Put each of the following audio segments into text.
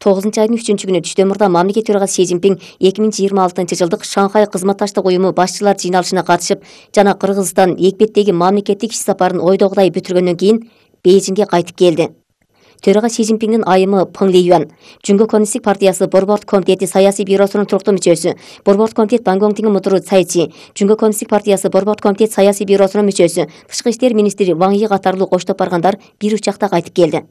9-айдын 3-күнү түштө мамлекет төрагасы Си Цзиньпин 2026-жылдык Шанхай кызматташтык уюму башчылар жыйналышына катышып жана Кыргызстан экбеттеги мамлекеттик иш сапарын ойдогудай бүтүргөндөн кийин Бейжиңге кайтып келди. Төрага Си Цзиньпиндин айымы Пың Лиюан, Жүнгө Коммунисттик партиясы Борбордук комитети саясий бюросунун туруктуу мүчөсү, Борбордук комитет Бангонгтиң мудуру Цай Чи, Жүнгө Коммунисттик партиясы Борбордук комитет саясий бюросунун мүчөсү, Тышкы иштер министри Ван Йи катарлуу коштоп баргандар бир учакта кайтып келди.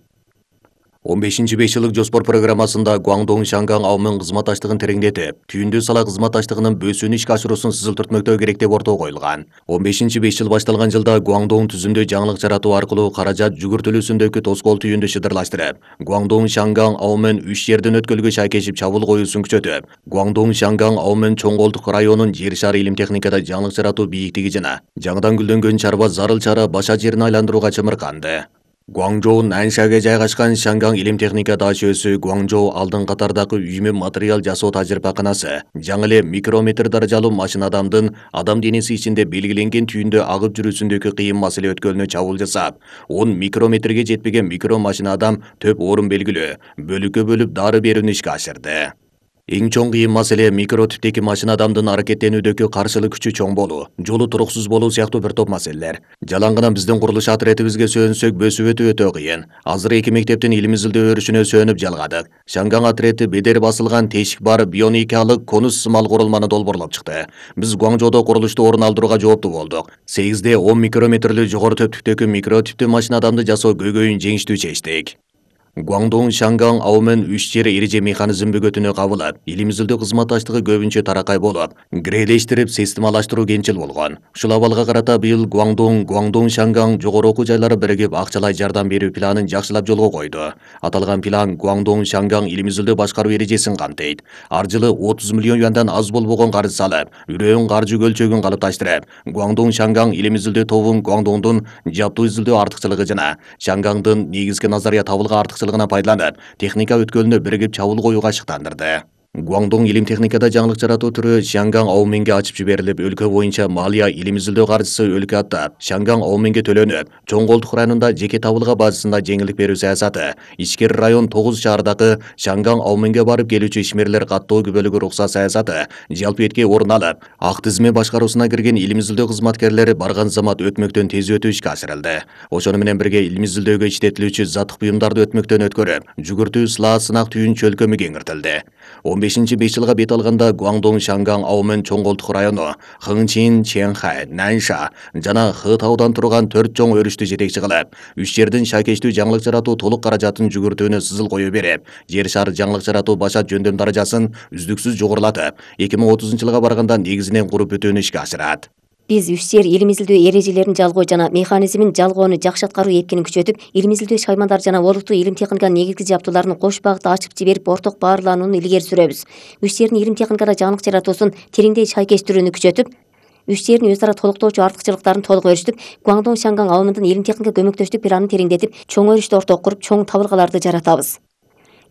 15-5 жылдык жоспор программасында Гуаңдоң Шанган аумен кызматташтыгын тереңдетип, түйүндө сала кызматташтыгынын бөөсүүнү ишке ашыруусун сызылтыртмөктөө керек деп ортого коюлган. 15-5 жыл башталган жылда Гуаңдоң түзүмдө жаңылык жаратуу аркылуу каражат жүгүртүлүүсүндөгү тоскоол түйүндү шыдырлаштырып, Гуаңдоң Шанган аумен 3 жерден өткөлгө шайкешип чабуул коюусун күчөтүп, Гуаңдоң Шанган аумен чоң колдук районунун жер шары илим техникада жаңылык жаратуу бийиктиги жана жаңыдан гүлдөнгөн чарба зарыл чара баша жерин айландырууга чымырканды. Гуаңжоу Наншага жайгашкан Шанган илим техника дачөсү Гуаңжоу алдын катардагы үймө материал жасоо тажрыйбаканасы жаңы эле микрометр даражалуу машина адам денеси ичинде белгиленген түйүндө агып жүрүүсүндөгү кыйын маселе өткөлүнө чабуул жасап, 10 микрометрге жетпеген микро машина төп орун белгилөө, бөлүккө бөлүп дары берүүнү ишке ашырды. Эң чоң кыйын маселе микро типтеги машина аракеттенүүдөгү каршылык күчү чоң болуу, жолу туруксуз болуу сыяктуу бир топ маселелер. Жалаң гана биздин курулуш отрядыбызга сөөнсөк бөсүп өтөө кыйын. Азыр эки мектептин илим изилдөө өрүшүнө сөөнүп жалгадык. Шанган отряды бедер басылган тешик бар бионикалык конус сымал курулманы долбоорлоп чыкты. Биз Гуаңжоодо курулушту орун алдырууга жооптуу болдук. 8де 10 микрометрлүү жогору төптүктөгү микро типтүү машина жасоо көйгөйүн жеңиштүү чечтик. Гуаңдоң Шанган аумен 3 жер эреже механизм бөгөтүнө кабылып, илим изилдөө кызматташтыгы көбүнчө таракай болуп, грелештирип, системалаштыруу кенчил болгон. Ушул абалга карата быйыл Гуаңдоң Шанган жогору окуу жайлары биригип акчалай жардам берүү планын жакшылап жолго койду. Аталган план Гуаңдоң Шанган илим изилдөө башкаруу эрежесин камтыйт. Ар жылы 30 миллион юандан аз болбогон карыз салып, үрөөн каржы көлчөгүн калыпташтырып, Гуаңдоң Шанган илим изилдөө тобун Гуаңдоңдун жаптуу изилдөө артыкчылыгы жана Шангандын негизги назария табылга пайдаланып, техника өткөлүнө биригип чабуул коюуга шыктандырды. Гуаңдоң илим техникада жаңылык жаратуу түрү Шанган ауменге ачып жиберилип, өлкө боюнча малия илим изилдөө каржысы өлкө аттап, Шанган ауменге төлөнүп, чоң колдук районунда жеке табылга базасында жеңилдик берүү саясаты, ичкери район 9 шаардагы Шанган ауменге барып келүүчү ишмерлер каттоо күбөлүгү уруксат саясаты жалпы этке орун алып, ак тизме башкаруусуна кирген илим изилдөө кызматкерлери барган замат өтмөктөн тез өтүү ишке ашырылды. Ошону менен бирге илим изилдөөгө иштетилүүчү заттык буюмдарды өтмөктөн өткөрүп, жүгүртүү сылаа сынак түйүн чөлкөмү кеңиртилди. 15-5 жылга бет алганда Гуаңдоң Шанган аумен чоң колдук району, Хыңчин, Чэнхай, Нанша жана Хытаудан турган 4 чоң өрүштү жетекчи кылып, 3 жердин шайкештүү жаңылык жаратуу толук каражатын жүгүртүүнү сызыл кое берип, жер шары жаңылык жаратуу башат жөндөм даражасын үздүксүз жогорулатып, 2030-жылга барганда негизинен куруп бүтүүнү ишке ашырат. Биз 3 жер илим изилдөө эрежелерин жалгоо жана механизмин жалгоону жакшы аткаруу эркинин күчөтүп, илим изилдөө шаймандары жана олуттуу илим техниканын негизги жаптууларын кош багытта ачып жиберип, орток баарланууну илгери сүрөбүз. 3 жердин илим техникада жаңылык жаратуусун тереңдей шайкештирүүнү күчөтүп, 3 жердин өз ара толуктоочу артыкчылыктарын толук өрүштүп, Гуаңдоң Шанган ауменин илим техника көмөктөштүк планын тереңдетип, чоң өрүштү орток куруп, чоң табылгаларды жаратабыз.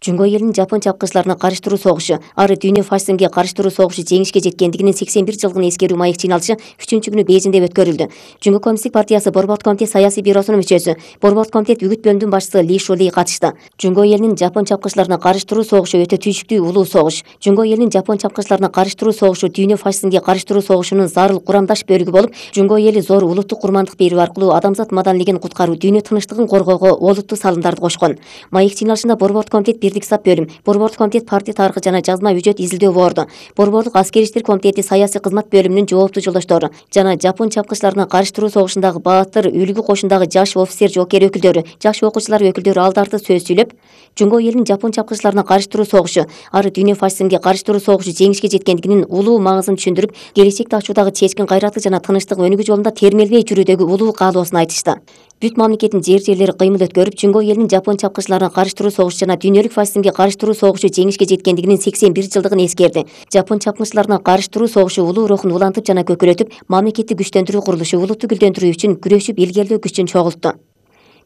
Жүнгө элинин жапон чапкычыларына карыштыруу согушу, ары дүйнө фашизмге карыштыруу согушу жеңишке жеткендигинин 81 жылдыгын эскерүү маек жыйналышы 3-күнү Бейжиңде өткөрүлдү. Жүнгө Коммунисттик партиясы Борбордук комитет саясий бюросунун мүчөсү, Борбордук комитет үгүт бөлүмүнүн башчысы Ли Шули катышты. Жүнгө элинин жапон чапкычыларына карыштыруу согушу өтө түйшүктүү улуу согуш. Жүнгө элинин жапон чапкычыларына карыштыруу согушу дүйнө фашизмге карыштыруу согушунун зарыл курамдаш бөлүгү болуп, Жүнгө эли зор улуттук курмандык берүү аркылуу адамзат маданилигин куткаруу, дүйнө тынчтыгын коргоого олуттуу салымдарды кошкон. Маек жыйналышында Борбордук комитет бирдик сап бөлүм, Борбордук комитет партия тарыхы жана жазма үжөт изилдөө борду, Борбордук аскери иштер комитети саясий кызмат бөлүмүнүн жооптуу жолдоштору жана жапон чапкычыларына карыштыруу согушундагы баатыр, үлгү кошундагы жаш офицер жоокер өкүлдөрү, жаш окуучулар өкүлдөрү алдарты сөз сүйлөп, Жүнгө элинин жапон чапкычыларына карыштыруу согушу, ары дүйнө фашизмге карыштыруу согушу жеңишке жеткендигинин улуу маңызын түшүндүрүп, келечекти ачуудагы чечкин кайраты жана тынчтык өнүгүү жолунда термелбей жүрүүдөгү улуу каалоосун айтышты. Бүт мамлекеттин жерлери кыймыл өткөрүп, Жүнгө элинин жапон чапкычыларына карыштыруу согушу жана дүйнөлүк фашизмге карыштыруу согушу жеңишке жеткендигинин 81 жылдыгын эскерди. Жапон чапкычыларына карыштыруу согушу улуу рухун улантып жана көкөлөтүп, мамлекетти күчтөндүрүү курулушу улутту гүлдөндүрүү үчүн күрөшүп илгерилөө күчүн чогултту.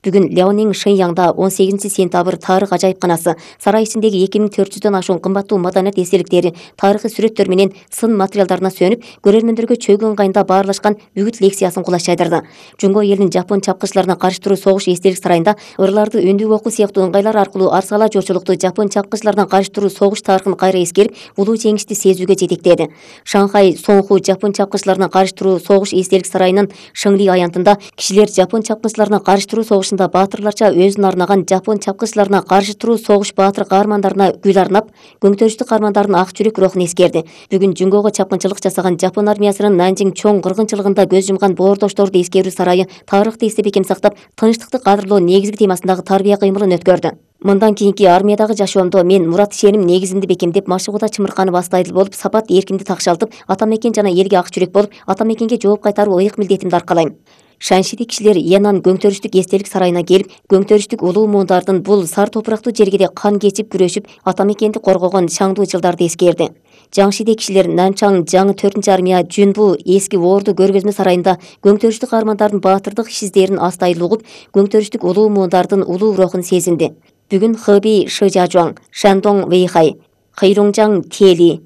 Бүгүн Ляонин Шэньяңда 18-сентябрь тарых ажайыпканасы сарай ичиндеги 2400дөн ашуун кымбаттуу маданият эстеликтери, тарыхый сүрөттөр менен сын материалдарына сүйөнүп, көрөрмөндөргө чөйгөн кайында баарлашкан бүгүт лекциясын кулаш жайдырды. Жунго элинин жапон чапкычыларына каршы туруу согуш эстелик сарайында ырларды өндүк окуу сыяктуу ыңгайлар аркылуу арсала жорчулукту жапон чапкычыларына каршы туруу согуш тарыхын кайра эскерип, улуу жеңишти сезүүгө жетектеди. Шанхай Соңху жапон чапкычыларына каршы туруу согуш эстелик сарайынын Шыңли аянтында кишилер жапон чапкычыларына каршы туруу согушунда баатырларча өзүн арнаган жапон чапкычыларына каршы туруу согуш баатыр каармандарына гүл арнап, көңтөрүштүү каармандардын ак жүрөк рухун эскерди. Бүгүн Жунгого чапкынчылык жасаган жапон армиясынын Нанжиң чоң кыргынчылыгында көз жумган боордошторду эскерүү сарайы тарыхты эстеп экем сактап, тынчтыкты кадырлоо негизги темасындагы тарбия кыймылын өткөрдү. Мындан кийинки армиядагы жашоомдо мен мурат ишеним негизинде бекемдеп, машыгууда чымырканып астайдыл болуп, сапат эркимди такшалтып, ата мекен жана элге ак жүрөк болуп, ата мекенге жооп кайтаруу ыйык милдетимди аркалайм. Шаншиди кишилер Янан көңтөрүштүк эстелик сарайына келип, көңтөрүштүк улуу муундардын бул сар топурактуу жергеде кан кечип күрөшүп, ата мекенди коргогон шаңдуу жылдарды эскерди. Жаңшиде кишилер Нанчаң жаңы 4 армия Жүнбу эски Орду көргөзмө сарайында көңтөрүштүк каармандардын баатырдык иш издерин астайыл угуп, көңтөрүштүк улуу муундардын улуу рухун сезинди. Бүгүн Хэби Шижажуан, Шандong Вэйхай, Хэйрунжаң Тели,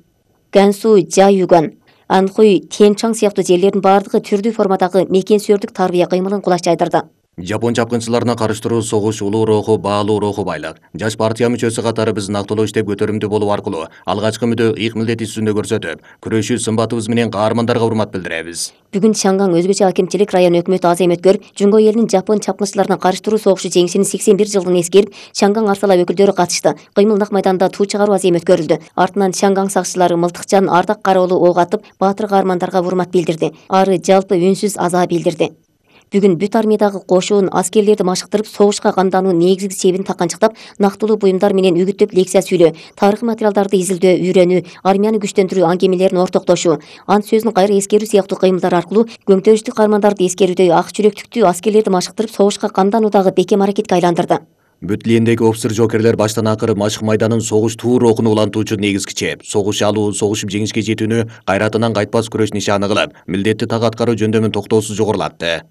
Гансу Жаюган, Анхуй Тенчаң сыяктуу жерлердин бардыгы түрдүү формадагы мекен сүйөрдүк тарбия кыймылын кулаш жайдырды. Жапон чапкынчыларына каршы туруу согуш улуу руху, баалуу руху байлык. Жаш партия мүчөсү катары биз нактылуу иштеп көтөрүмдүү болуу аркылуу алгачкы мүдө ыйык милдет үстүндө көрсөтүп, күрөшүү сымбатыбыз менен каармандарга урмат билдиребиз. Бүгүн Чаңгаң өзгөчө акимчилик район өкмөтү азем өткөрүп, Жунго элинин жапон чапкынчыларына каршы туруу согушу жеңишинин 81 жылдыгын эскерип, Чаңгаң арсала өкүлдөрү катышты. Кыймыл нак майданда туу чыгаруу азем өткөрүлдү. Артынан Чаңгаң сакчылары Мылтыкчан Ардак Кароолу ок атып, баатыр каармандарга урмат билдирди. Ары жалпы үнсүз аза билдирди. Бүгүн бүт армиядагы кошуун аскерлерди машыктырып, согушка камдануу негизги себин таканчыктап, нактылуу буюмдар менен үгүттөп лекция сүйлөө, тарыхый материалдарды изилдөө, үйрөнүү, армияны күчтөндүрүү аңгемелерин ортоктошуу, ант сөзүн кайра эскерүү сыяктуу кыймылдар аркылуу көңтөрүштүк каармандарды эскерүүдө ак жүрөктүктүү аскерлерди машыктырып, согушка камдануудагы бекем аракетке айландырды. Бүт лендеги офицер жокерлер баштан акыры машык майданын согуш туу рухуну улантуучу негизги чеп, согуш алуу, согушуп жеңишке жетүүнү кайратынан кайтпас күрөш нишаны кылып, милдетти так аткаруу жөндөмүн токтоосуз жогорулатты.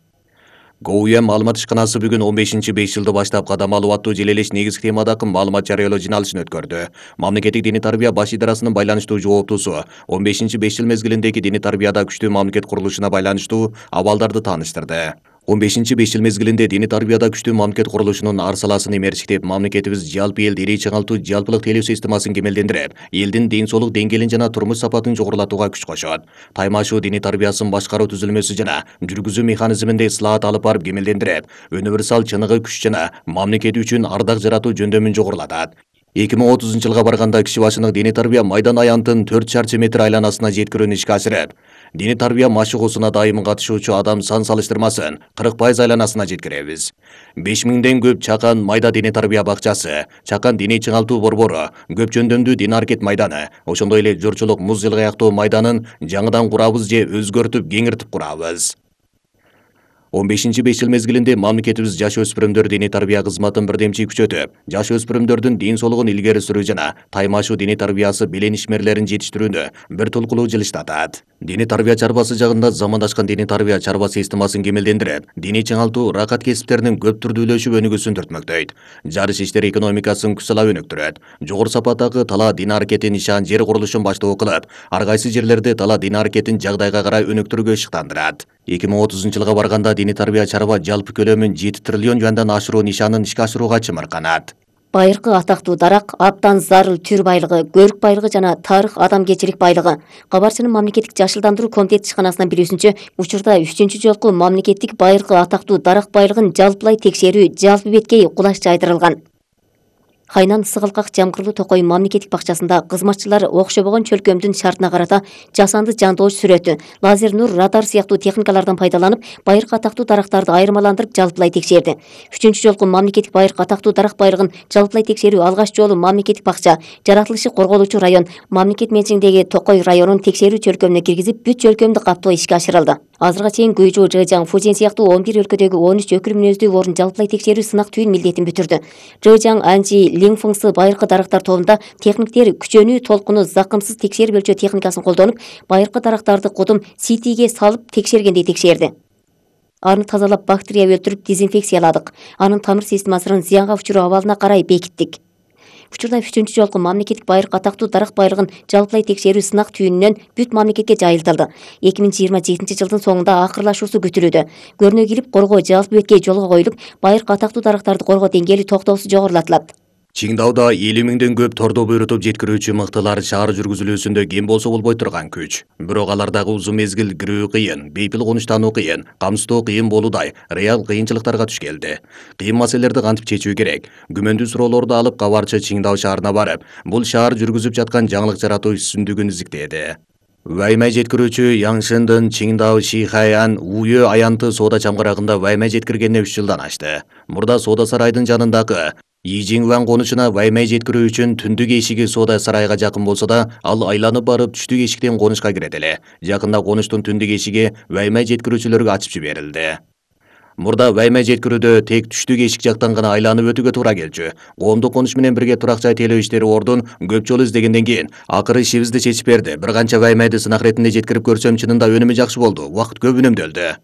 ГУМ маалымат ишканасы бүгүн 15-5 жылды баштап кадам алуу аттуу желелеш негизги темадагы маалымат жарыялоо жыйналышын өткөрдү. Мамлекеттик диний тарбия баш идарасынын байланыштуу жооптуусу 15-5 жыл мезгилиндеги диний тарбияда күчтүү мамлекет курулушуна байланыштуу абалдарды тааныштырды. 15-5 жыл мезгилинде диний тарбияда күчтүү мамлекет курулушунун арсаласын эмерчиктеп, мамлекетибиз жалпы эл ирий чыңалтуу жалпылык тейлөө системасын кемелдендирип, элдин ден соолук деңгээлин жана турмуш сапатын жогорулатууга күч кошот. Таймашуу диний тарбиясын башкаруу түзүлмөсү жана жүргүзүү механизминде ислаат алып барып кемелдендирип, универсал чыныгы күч жана мамлекет үчүн ардак жаратуу жөндөмүн жогорулатат. 2030 жылга барганда киши башынын диний тарбия майдан аянтын 4 чарчы метр айланасына жеткирүүнү ишке асырып, диний тарбия машыгуусуна дайым катышуучу адам сан салыштырмасын 40% айланасына жеткиребиз. 5000ден көп Чакан майда диний тарбия бакчасы, Чакан диний чыңалтуу борбору, көп жөндөмдүү дин аракет майданы, ошондой эле журчулук муз жылгаяктоо майданын жаңыдан курабыз же өзгөртүп кеңиртип курабыз. 15-5 жыл мезгилинде мамлекетибиз жаш өспүрүмдөр диний тарбия кызматын бирдемчи күчөтүп, жаш өспүрүмдөрдүн дин соолугун илгери сүрүү жана таймашуу диний тарбиясы белен ишмерлерин жетиштирүүнү бир тулкулуу жылыштатат. Диний тарбия чарбасы жагында замандашкан диний тарбия чарба системасын кемелдендирип, диний чыңалтуу ракат кесиптеринин көп түрдүүлөшүп өнүгүүсүн түртмөктөйт. Жарыш иштери экономикасын күчсалап өнүктүрөт. Жогору сапаттагы тала дин аракетин нишан жер курулушун баштоо кылып, ар кайсы жерлерде тала дин аракетин жагдайга карай өнүктүрүүгө ишыктандырат. 2030 жылга барганда диний тарбия чарба жалпы көлөмүн 7 триллион юандан ашыруу нишанын ишке ашырууга чымырканат. Байыркы атактуу дарак, абдан зарыл түр байлыгы, көрүк байлыгы жана тарых адамгерчилик байлыгы. Кабарчынын мамлекеттик жашылдандыруу комитет ишканасынын билүүсүнчө, учурда 3-чү жолку мамлекеттик байыркы атактуу дарак байлыгын жалпылай текшерүү жалпы беткей кулаш жайдырылган. Хайнан Сыгылкак Жамгырлуу Токой мамлекеттик бакчасында кызматчылар окшобогон чөлкөмдүн шартына карата жасанды жандооч сүрөтү, лазер нур, радар сыяктуу техникалардан пайдаланып, байыркы атактуу дарактарды айырмаландырып жалпылай текшерди. 3-чү жолку мамлекеттик байыркы атактуу дарак байлыгын жалпылай текшерүү алгач жолу мамлекеттик бакча, жаратылышы корголуучу район, мамлекет менчигиндеги Токой районун текшерүү чөлкөмүнө киргизип, бүт чөлкөмдү каптоо ишке ашырылды. Азырга чейин Гуйжу, Жэжаң, Фужин сыяктуу 11 өлкөдөгү 13 өкүл мүнөздүү орун жалпылай текшерүү сынак түйүн милдетин бүтүрдү. Жэжаң, Анжи, Лиңфыңсы байыркы дарактар тобунда техниктер күчөнүү, толкуну, закымсыз текшерип өлчөө техникасын колдонуп, байыркы дарактарды кудум CT-ге салып текшергендей текшерди. Аны тазалап, бактерия өлтүрүп, дезинфекцияладык. Анын тамыр системасынын зыянга учуруу абалына карай бекиттик. Учурда 3-чү жолку мамлекеттик байыркы атактуу дарак байрыгын жалпылай текшерүү сынак түйүнүнөн бүт мамлекетке жайылтылды. 2027 жылдын соңунда акырлашуусу күтүлүүдө. Көрүнө килип коргоо жалпы бетке жолго коюлуп, байыркы атактуу дарактарды коргоо деңгээли токтоосуз жогорулатылат. Чиңдауда 50 миңден көп тордо буйрутуп жеткирүүчү мыктылар шаар жүргүзүлүүсүндө кем болсо болбой турган күч. Бирок алардагы узун мезгил кирүү кыйын, бейпил конуштануу кыйын, камсыздоо кыйын болуудай реал кыйынчылыктарга туш келди. Кыйын маселелерди кантип чечүү керек? Күмөндүү суроолорду алып кабарчы Чиңдау шаарына барып, бул шаар жүргүзүп жаткан жаңылык жаратуу үстүндүгүн изиктеди. Вайма жеткирүүчү Яңшындын Чиңдау Шихаян Уйө аянты соода чамгарагында вайма жеткиргенине 3 жылдан ашты. Мурда соода сарайдын жанындагы Ижиңван конушуна вайма жеткирүү үчүн түндүк эшиги соода сарайга жакын болсо да, ал айланып барып түштүк эшиктен конушка кирет эле. Жакында конуштун түндүк эшиги вайма жеткирүүчүлөргө ачып жиберилди. Мурда вайма жеткирүүдө тек түштүк эшик жактан гана айланып өтүүгө туура келчү. Коомдук конуш менен бирге турак жай тейлөө иштери ордун көп жолу издегенден кийин акыры ишибизди чечип берди. Бир канча ваймайды сынак иретинде жеткирип көрсөм, чынында өнүмү жакшы болду. Убакыт көп үнөмдөлдү.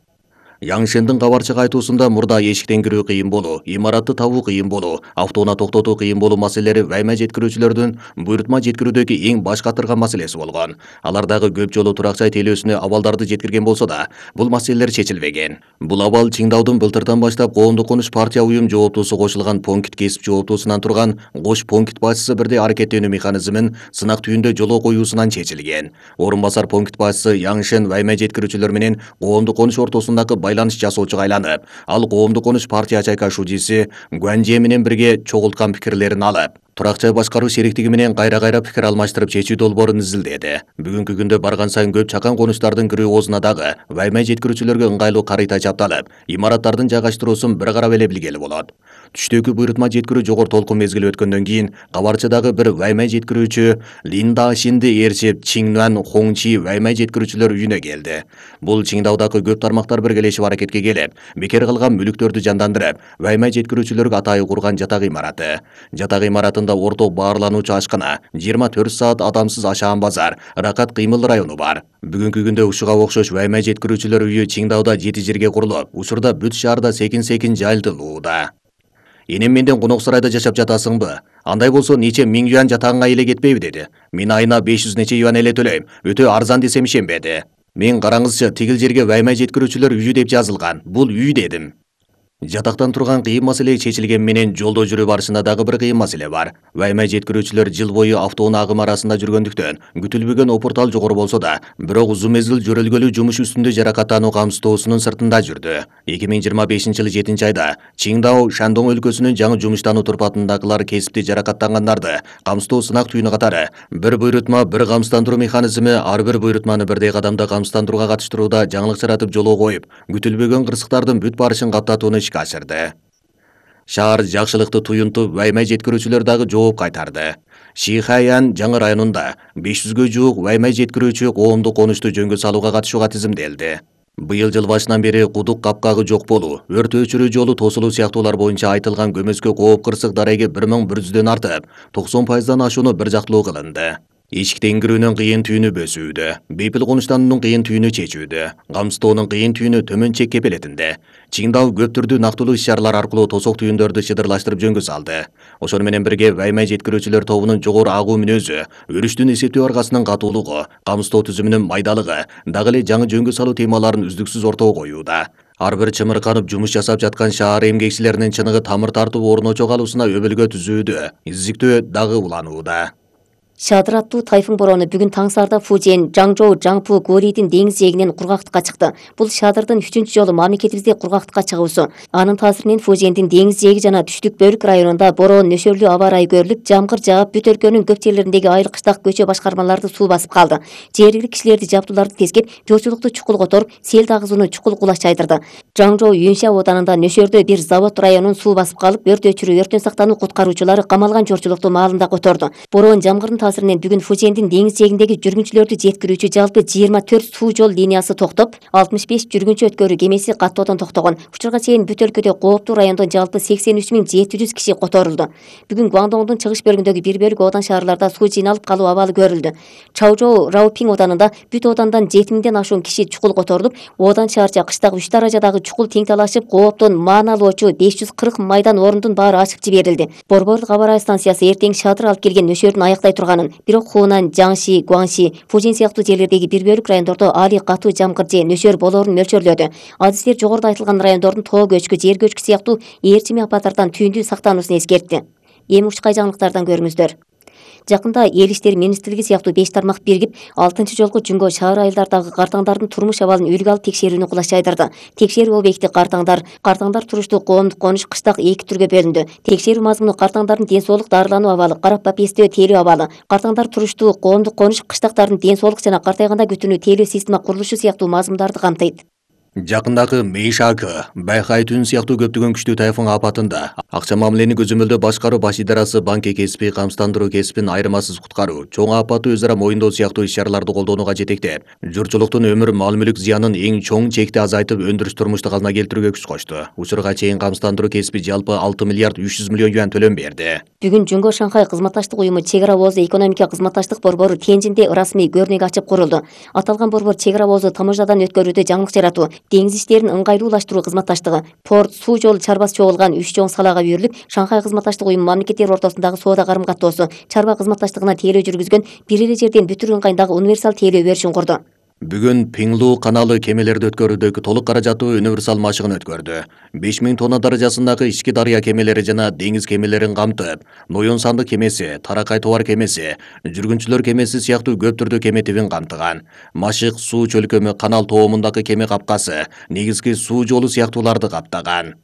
Яңшындын кабарчык айтуусунда мурда эшиктен кирүү кыйын болуу, имаратты табуу кыйын болуу, автоунаа токтотуу кыйын болуу маселелери вайма жеткирүүчүлөрдүн буйрутма жеткирүүдөгү эң баш катырган маселеси болгон. Алар дагы көп жолу турак жай тейлөөсүнө абалдарды жеткирген болсо да, бул маселелер чечилбеген. Бул абал Чиңдаудун былтырдан баштап коомдук конуш партия уюм жооптуусу кошулган Понкит кесип жооптуусунан турган Кош Понкит башчысы бирдей аракеттенүү механизмин сынак түйүндө жолго коюусунан чечилген. Орун басар Понкит башчысы Яңшын вайма жеткирүүчүлөр менен коомдук конуш ортосундагы байланыш жасоочуга айланып, ал коомдук конуш партия чайка шужиси Гуанже менен бирге чогулткан пикирлерин алып, турак жай башкаруу шериктиги менен кайра-кайра пикир алмаштырып чечүү долбоорун изилдеди. Бүгүнкү күндө барган сайын көп чакан конуштардын кирүү оозуна дагы вайма жеткирүүчүлөргө ыңгайлуу карыйта чапталып, имараттардын жайгаштыруусун бир карап эле билгели болот. Түштөгү буйрутма жеткирүү жогору толкун мезгили өткөндөн кийин кабарчыдагы бир вайма жеткирүүчү Линда Шинди ээрчип Чиңнуан Хоңчи вайма жеткирүүчүлөр үйүнө келди. Бул Чиңдаудагы көп тармактар биргелешип аракетке келип, бекер калган мүлүктөрдү жандандырып, вайма жеткирүүчүлөргө атайы курган жатак имараты. Жатак имаратында орток баарлануучу ашкана, 24 саат адамсыз ашаан базар, Ракат кыймыл району бар. Бүгүнкү күндө ушуга окшош вайма жеткирүүчүлөр үйү Чиңдауда 7 жерге курулуп, учурда бүт шаарда секин-секин жайылтылууда. Энем менден конок сарайда жашап жатасыңбы? Андай болсо нече миң юан жатагыңа эле кетпейби деди. Мен айына 500 нече юан эле төлөйм. Өтө арзан десем ишенбеди. Мен караңызчы, тигил жерге вайма жеткирүүчүлөр үйү деп жазылган. Бул үй дедим. Жатактан турган кыйын маселе чечилген менен жолдо жүрүү барышында дагы бир кыйын маселе бар. Вайма жеткирүүчүлөр жыл бою автоунаа агымы арасында жүргөндүктөн күтүлбөгөн опуртал жогору болсо да, бирок узун мезгил жөрөлгөлүү жумуш үстүндө жаракаттануу камсыздоосунун сыртында жүрдү. 2025-жылы 7-айда Чиңдау Шандong өлкөсүнүн жаңы жумуштануу турпатындагылар кесипти жаракаттангандарды камсыздоо сынак түйүнү катары бир буйрутма, бир камсыздандыруу механизми ар бир буйрутманы бирдей кадамда камсыздандырууга катыштырууда жаңылык жаратып жолго коюп, күтүлбөгөн кырсыктардын бүт барышын каптатууну ишке ашырды. Шаар жакшылыкты туюнтуп, вайма жеткирүүчүлөр дагы жооп кайтарды. Шихаян жаңы районунда 500гө жуук вайма жеткирүүчү коомдук конушту жөнгө салууга катышууга тизимделди. Быйыл жыл башынан бери кудук капкагы жок болуу, өрт өчүрүү жолу тосулуу сыяктуулар боюнча айтылган көмөскө кооп кырсык дареги 1100дөн артып, 90%дан ашууну бир жактылуу кылынды. Эшиктен кирүүнүн кыйын түйүнү бөсүүдө, бейпил конуштануунун кыйын түйүнү чечүүдө, камсыздоонун кыйын түйүнү төмөн чек кепелетинде. Чиңдау көп түрдүү нактылуу иш-чаралар аркылуу тосок түйүндөрдү шыдырлаштырып жөнгө салды. Ошону менен бирге вайма жеткирүүчүлөр тобунун жогору агуу мүнөзү, өрүштүн эсептөө аргасынын катуулугу, камсыздоо түзүмүнүн майдалыгы, дагы эле жаңы жөнгө салуу темаларын үздүксүз ортого коюуда. Ар бир чымырканып жумуш жасап жаткан шаар эмгекчилеринин чыныгы тамыр тартып орночо калуусуна өбөлгө түзүүдө, изиктөө дагы уланууда. Шадыр аттуу тайфун бороону бүгүн таң саарда Фужен, Жаңжоу, Жаңпу, Гурийдин деңиз жээгинен кургактыкка чыкты. Бул Шадырдын 3-чү жолу мамлекетибизде кургактыкка чыгуусу. Анын таасиринен Фужендин деңиз жээги жана түштүк бөлүк районунда бороон нөшөрлүү аба ырайы көрүлүп, жамгыр жаап, бүт өлкөнүн көп жерлериндеги айыл кыштак көчө башкармаларды суу басып калды. Жергиликтүү кишилерди жабдууларды тескеп, жоочулукту чукул которуп, сел дагызууну чукул кулаш чайдырды. Жаңжоу Юнша оданында нөшөрдө бир завод районун суу басып калып, өрт өчүрүү, өрттөн сактануу куткаруучулары камалган жоочулукту маалында которду. Бороон жамгырдын таасиринен бүгүн Фужендин деңиз жээгиндеги жүргүнчүлөрдү жеткирүүчү жалпы 24 суу жол линиясы токтоп, 65 жүргүнчү өткөрүү кемеси каттоодон токтогон. Учурга чейин бүт өлкөдө кооптуу райондон жалпы 83.700 киши которулду. Бүгүн Гуандоңдун чыгыш бөлүгүндөгү бир бөлүк оодан шаарларда суу жыйналып калуу абалы көрүлдү. Чаожоу Раопиң ооданында бүт оодандан 7000ден ашуун киши чукул которулуп, оодан шаарча кыштагы 3 даражадагы чукул тең талашып, кооптон мааналоочу 540 майдан орундун баары ачып жиберилди. Борборлук аба ырайы станциясы эртең шатыр алып келген нөшөрүн аяктай турганын, бирок Хунан, Жаңши, Гуанши, Фужен сыяктуу жерлердеги бир бөлүк райондордо али катуу жамгыр же нөшөр болоорун мөлчөрлөдү. Адистер жогоруда айтылган райондордун тоо көчкү, жер көчкү сыяктуу ээрчими апаттардан түйүндүү сактануусун эскертти. Эми ушкай жаңылыктардан көрүңүздөр. Жакында Эл иштери министрлиги сыяктуу 5 тармак биригип, 6-жолку жүнгө шаар айылдардагы картаңдардын турмуш абалын үлгү алып текшерүүнү кулаш жайдырды. Текшерүү объекти картаңдар туруштуу коомдук конуш кыштак 2 түргө бөлүндү. Текшерүү мазмуну картаңдардын ден соолук, дарылануу абалы, карап бапестөө тейлөө абалы, картаңдар туруштуу коомдук конуш кыштактардын ден соолук жана картайганда күтүүнү тейлөө система курулушу сыяктуу мазмундарды камтыйт. Жакындагы Мэйшакы, Байхай түн сыяктуу көптөгөн күчтүү тайфун апатында акча мамилени көзөмөлдөө башкаруу баш идарасы банк кесипи, камсыздандыруу кесипин айырмасыз куткаруу, чоң апатты өз ара моюндоо сыяктуу иш-чараларды колдоонуга жетектеп, журтчулуктун өмүр мал-мүлк зыянын эң чоң чекти азайтып, өндүрүш турмушту калыбына келтирүүгө күч кошту. Учурга чейин камсыздандыруу кесипи жалпы 6 миллиард 300 миллион юан төлөм берди. Бүгүн Жүнгө Шанхай кызматташтык уюму чек ара боозу экономика кызматташтык борбору Тенжинде ырасмий көрнөк ачып курулду. Аталган борбор чек ара боозу ТМЖдан өткөрүүдө жаңылык жаратуу, деңиз иштерин ыңгайлуулаштыруу кызматташтыгы, порт, суу жол чарбасы чогулган 3 чоң салаага үйрүлүп, Шанхай кызматташтык уюму мамлекеттер ортосундагы соода карым-каттоосу, чарба кызматташтыгына тейлөө жүргүзгөн, бир эле жерден бүтүр ыңгайдагы универсал тейлөө беришин курду. Бүгүн Пиңлу каналы кемелерди өткөрүүдөгү толук каражаттуу универсал машыгын өткөрдү. 5000 тонна даражасындагы ички дарыя кемелери жана деңиз кемелерин камтып, Ноюн сандык кемеси, Таракай товар кемеси, жүргүнчүлөр кемеси сыяктуу көп түрдүү кеме тибин камтыган. Машык суу чөлкөмү, канал тоомундагы кеме капкасы, негизги суу жолу сыяктууларды каптаган.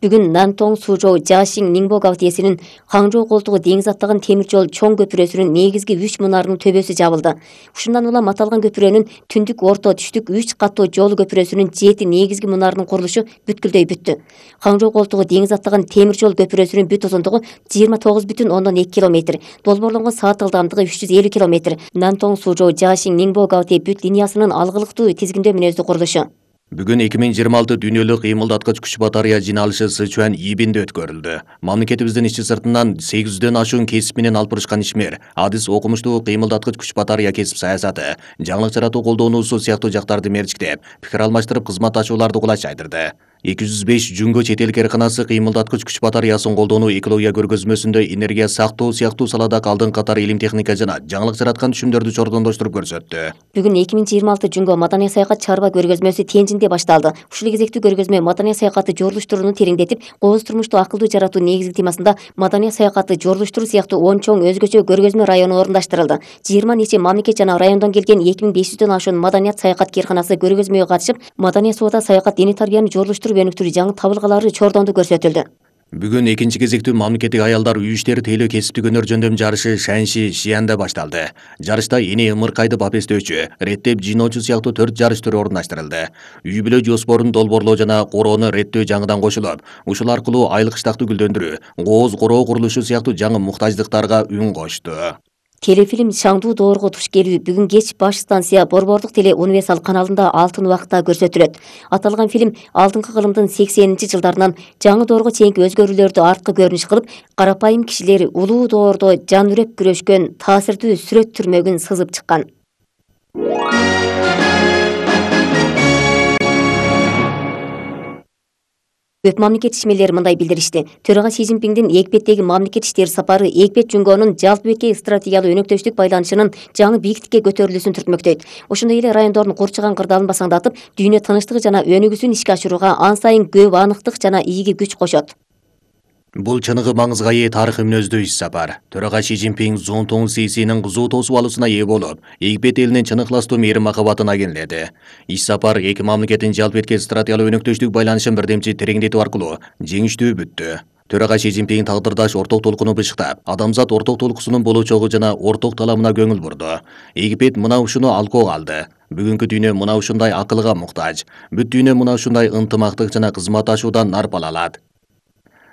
Бүгүн Нантong Сужоу Жашиң Ниңбо гавтиесинин Хаңжоу колтугу деңиз аттаган темир жол чоң көпүрөсүнүн негизги 3 мунарынын төбөсү жабылды. Ушундан улам аталган көпүрөнүн түндүк, орто, түштүк 3 каттуу жол көпүрөсүнүн 7 негизги мунарынын курулушу бүткүлдөй бүттү. Хаңжоу колтугу деңиз аттаган темир жол көпүрөсүнүн бүт узундугу 29,2 км, долбоорлонгон саат ылдамдыгы 350 км. Нантong Сужоу Жашиң Ниңбо гавти бүт линиясынын алгылыктуу тизгиндөө мүнөздүү курулушу. Бүгүн 2026 дүйнөлүк кыймылдаткыч күч батарея жиналышы Сычуан Ибинде өткөрүлдү. Мамлекетибиздин ички сыртынан 800дөн ашуун кесип менен алып бурушкан ишмер, адис окумуштуу кыймылдаткыч күч батарея кесип саясаты, жаңылык жаратуу колдонуусу сыяктуу жактарды мерчиктеп, пикир алмаштырып кызматташууларды кулаш жайдырды. 205 жүнгө чет эл кээрканасы кыймылдаткыч күч батареясын колдонуу экология көргөзмөсүндө энергия сактоо сыяктуу саладагы алдыңкы катар илим техника жана жаңылык жараткан түшүмдөрдү чордондоштуруп көрсөттү. Бүгүн 2026 жүнгө маданий саякат чарба көргөзмөсү Тенжинде башталды. Ушул кезектүү көргөзмө маданий саякатты жорулуштурууну тереңдетип, кооз турмушту акылдуу жаратуу негизги темасында маданий саякатты жорулуштуруу сыяктуу 10 чоң өзгөчө көргөзмө району орундаштырылды. 20 нече мамлекет жана райондон келген 2500дөн ашуун маданият саякат кээрканасы көргөзмөгө катышып, маданий соода, саякат, диний тарбияны жорулуштуруу өнүктүрүү жаңы табылгалары чордонду көрсөтүлдү. Бүгүн экинчи кезектүү мамлекеттик аялдар үй иштери тейлөө кесиптик өнөр жөндөм жарышы Шанши Шиянда башталды. Жарышта эне ымыркайды бапестөөчү, реттеп жыйноочу сыяктуу 4 жарыш түрү орундаштырылды. Үй бүлө жоспорун долбоорлоо жана короону реттөө жаңыдан кошулуп, ушул аркылуу айлык штакты гүлдөндүрүү, кооз короо курулушу сыяктуу жаңы муктаждыктарга үн кошту. Телефильм Шаңдуу доорго туш келүү бүгүн кеч баш станция Борбордук теле универсал каналында алтын убакытта көрсөтүлөт. Аталган фильм алдыңкы кылымдын 80-жылдарынан жаңы доорго чейинки өзгөрүүлөрдү арткы көрүнүш кылып, карапайым кишилер улуу доордо жан үреп күрөшкөн таасирдүү сүрөт түрмөгүн сызып чыккан. Көп мамлекет ишмерлери мындай билдиришти. Төрага Си Цзиньпиңдин Эгипеттеги мамлекет иштери сапары Эгипет жүнгөнүн жалпы өлкө стратегиялык өнөктөштүк байланышынын жаңы бийиктикке көтөрүлүүсүн түртмөктөйт. Ошондой эле райондордун курчаган кырдаалын басаңдатып, дүйнө тынычтыгы жана өнүгүүсүн ишке ашырууга ан сайын көп аныктык жана ийги күч кошот. Бул чыныгы маңызга ээ тарыхый мүнөздүү иш сапар. Төрага Си Цзиньпиң Цзонтун Сисинин кызуу тосуп алуусуна ээ болуп, Египет элинин чын ыхластуу мээрим махабатына кенеледи. Иш сапар эки мамлекеттин жалпы этке стратегиялык өнөктөштүк байланышын бирдемчи тереңдетүү аркылуу жеңиштүү бүттү. Төрага Си Цзиньпиң тагдырдаш орток толкуну бышыктап, адамзат орток толкусунун болочогу жана орток таламына көңүл бурду. Египет мына ушуну алкоого алды. Бүгүнкү дүйнө мына ушундай акылга муктаж. Бүт дүйнө мына ушундай ынтымактык жана кызматташуудан нарпал алат.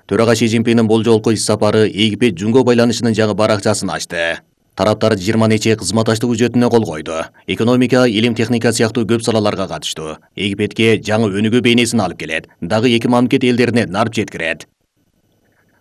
Төрага Си Цзиньпиңдин бул жолку иш сапары Египет жүнгө байланышынын жаңы баракчасын ачты. Тараптар 20 нече кызматташтык үчөтүнө кол койду. Экономика, илим техника сыяктуу көп салаларга катыштуу. Египетке жаңы өнүгүү бейнесин алып келет. Дагы эки мамлекет элдерине нарп жеткирет.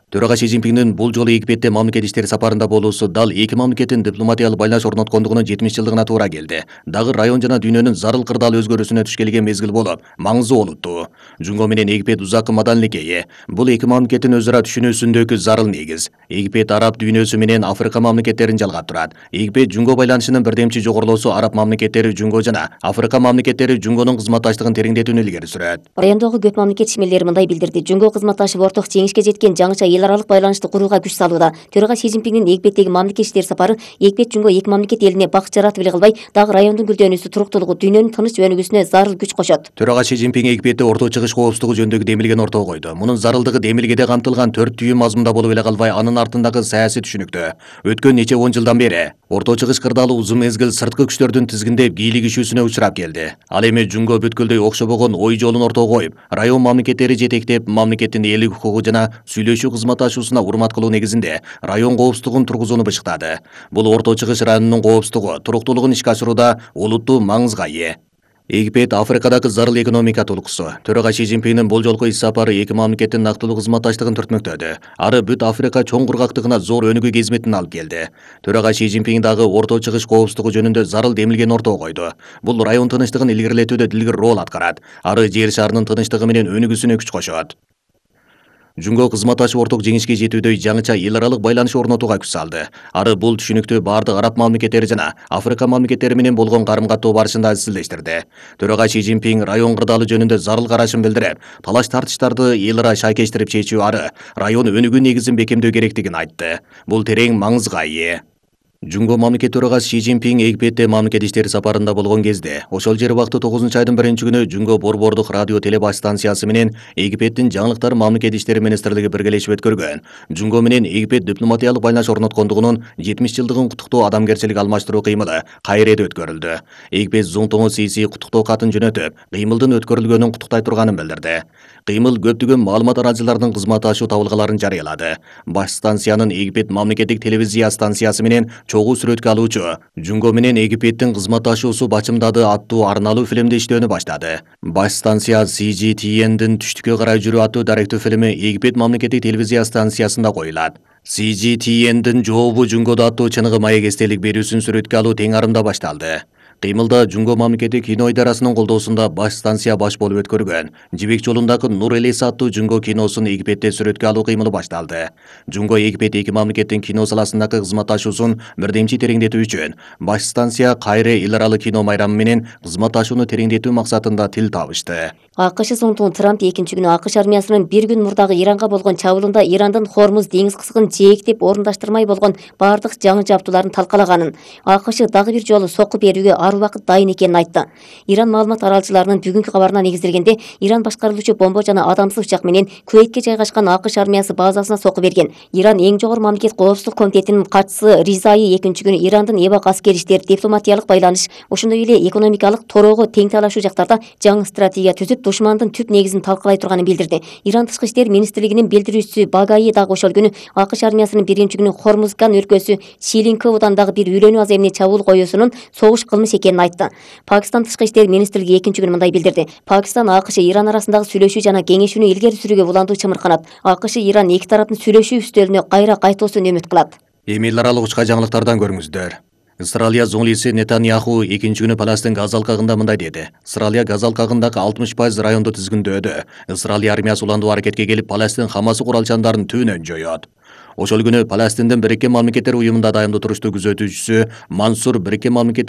Төрага Си Цзиньпиндин бул жолу Египетте мамлекет иштери сапарында болуусу дал эки мамлекеттин дипломатиялык байланыш орноткондугунун 70-жылдыгына туура келди. Дагы район жана дүйнөнүн зарыл кырдаал өзгөрүүсүнө туш келген мезгил болуп, маңызы олуттуу. Жунго менен Египет узаккы маданилекке ээ. Бул эки мамлекеттин өзара түшүнүүсүндөгү зарыл негиз. Египет араб дүйнөсү менен Африка мамлекеттерин жалгап турат. Египет Жунго байланышынын бирдемчи жогорулоосу араб мамлекеттери Жунго жана Африка мамлекеттери Жунгонун кызматташтыгын тереңдетүүнү илгери сүрөт. Райондогу көп мамлекет ишмерлери мындай билдирди. Жунго кызматташып орток жеңишке жеткен жаңыча эл аралык байланышты курууга күч салууда. Төрага Си Цзиньпиндин Египеттеги мамлекет иштери сапары Египет Жунго эки мамлекет элине бакыт жаратып эле калбай, дагы райондун гүлдөнүүсү, туруктуулугу, дүйнөнүн тыныч өнүгүүсүнө зарыл күч кошот. Төрага Си Цзиньпин Египетте орто чыгыш коопсуздугу жөнүндөгү демилгени ортого койду. Мунун зарылдыгы демилгеде камтылган 4 түйүн мазмунда болуп эле калбай, анын артындагы саясий түшүнүктө. Өткөн нече 10 жылдан бери орто чыгыш кырдаалы узун мезгил сырткы күчтөрдүн тизгиндеп кийлигишүүсүнө учурап келди. Ал эми Жунго бүткүлдөй окшобогон ой жолун ортого коюп, район мамлекеттери жетектеп, мамлекеттин элдик укугу жана сүйлөшүү кызматташуусуна урмат кылуу негизинде район коопсуздугун тургузууну бышыктады. Бул орто чыгыш районунун коопсуздугу, туруктуулугун ишке ашырууда олуттуу маңызга ээ. Египет Африкадагы зарыл экономика толкусу. Төрага Си Цзиньпиндин бул жолку ис сапары эки мамлекеттин нактылуу кызматташтыгын түртмөктөдү. Ары бүт Африка чоң кургактыгына зор өнүгүү кезметин алып келди. Төрага Си Цзиньпин дагы орто чыгыш коопсуздугу жөнүндө зарыл демилгени ортого койду. Бул район тынычтыгын илгерилетүүдө дилгир роль аткарат. Ары жер шарынын тынычтыгы менен өнүгүүсүнө күч кошот. Жунго кызматташып орток жеңишке жетүүдөй жаңыча эл аралык байланыш орнотууга күч салды. Ары бул түшүнүктү бардык араб мамлекеттери жана Африка мамлекеттери менен болгон карым-каттоо барышында изчилдештирди. Төрага Си Цзиньпин район кырдаалы жөнүндө зарыл карашын билдирип, талаш тартыштарды эл ара шайкештирип чечүү ары район өнүгүү негизин бекемдөө керектигин айтты. Бул терең маңызга ээ. Жунго мамлекет төрагасы Си Цзиньпин Египетте мамлекет иштери сапарында болгон кезде, ошол жер убакты 9-айдын 1-күнү Жунго борбордук радио теле станциясы менен Египеттин жаңылыктар мамлекет иштери министрлиги биргелешип өткөргөн Жунго менен Египет дипломатиялык байланыш орноткондугунун 70-жылдыгын куттуктоо адамгерчилик алмаштыруу кыймылы Кайреде өткөрүлдү. Египет Зуңтоңу Сиси куттуктоо катын жөнөтүп, кыймылдын өткөрүлгөнүн куттуктай турганын билдирди. Кыймыл көптөгөн маалымат арачыларынын кызматташуу табылгаларын жарыялады. Баш станциянын Египет мамлекеттик телевизия станциясы менен чогуу сүрөткө алуучу Жунго менен Египеттин кызматташуусу бачымдады аттуу арналуу фильмди иштөөнү баштады. Баш станция CGTN'дин түштүккө карай жүрүү аттуу даректүү фильми Египет мамлекеттик телевизия станциясында коюлат. CGTN'дин жообу Жунгодо аттуу чыныгы маек эстелик берүүсүн сүрөткө алуу тең арымда башталды. Кыймылда Жунго мамлекеттик кино идарасынын колдоосунда баш станция баш болуп өткөргөн Жибек жолундагы Нур Элес аттуу Жунго киносун Египетте сүрөткө алуу кыймылы башталды. Жунго Египет эки мамлекеттин кино саласындагы кызматташуусун бирдемчи тереңдетүү үчүн баш станция Кайре эл аралык кино майрамы менен кызматташууну тереңдетүү максатында тил табышты. АКШ соңтугун Трамп 2-күнү АКШ армиясынын bir күн мурдагы Иранга болгон чабуулунда Ирандын Хормуз деңиз кысыгын жээктеп орундаштырмай болгон бардык жаңы жабдууларын талкалаганын, АКШ дагы бир жолу сокку берүүгө ар убакыт дайын экенин айтты. Иран маалымат аралчыларынын бүгүнкү кабарына негизделгенде, Иран башкарылуучу бомба жана адамсыз учак менен Куэйтке жайгашкан АКШ армиясы базасына сокку берген. Иран эң жогору мамлекет коопсуздук комитетинин катчысы Ризаи 2-күнү Ирандын эбак аскери иштер, дипломатиялык байланыш, ошондой эле экономикалык торого тең талашуу жактарда жаңы стратегия түзүп, душмандын түп негизин талкалай турганын билдирди. Иран тышкы иштер министрлигинин билдирүүчүсү Багаи дагы ошол күнү АКШ армиясынын 1-күнү Хормузган өлкөсү Шилинковудан дагы бир үйлөнүү аз эмне чабуул коюусунун согуш кылмыш экенин айтты. Пакистан тышкы иштер министрлиги 2-күнү мындай билдирди. Пакистан АКШ Иран арасындагы сүйлөшүү жана кеңешүүнү илгери сүрүүгө уландуу чымырканат. АКШ Иран эки тараптын сүйлөшүү үстөлүнө кайра кайтуусун үмүт кылат. Эми эл аралык учка жаңылыктардан көрүңүздөр. Израилия зоңлиси Нетаньяху 2-күнү Палестин газ алкагында мындай деди. Израилия газ алкагындагы 60% районду тизгиндөөдө. Израилия армиясы уландуу аракетке келип Палестин Хамасы куралчандарын түбүнөн жоёт. Ошол күнү Палестиндин Бириккен Мамлекеттер уюмунда дайымдуу туруштуу күзөтүүчүсү Мансур Бириккен Мамлекеттер